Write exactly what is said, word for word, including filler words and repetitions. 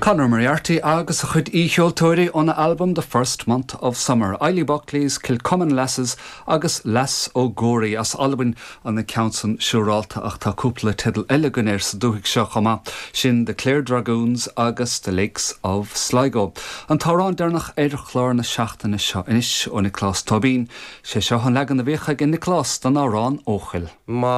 Conor Moriarty agus a chuid aoicheoltóirí óna albam The First Month of Summer, Eilí Buckley's Kilcummin Lasses agus Lass O'Gorey as Albain an na ceann san siúrálta ach tá cúpla teideal eile againn air sa dúthaigh seo chomh maith sin The Clare Dragoons agus The Lakes of Sligo. An t-amhrán deireanach ar chlár na seachtaine seo anois ó Nioclás Tóibín, sé seo an leagan a bhíodh ag Nioclás den amhrán Eochaill. Má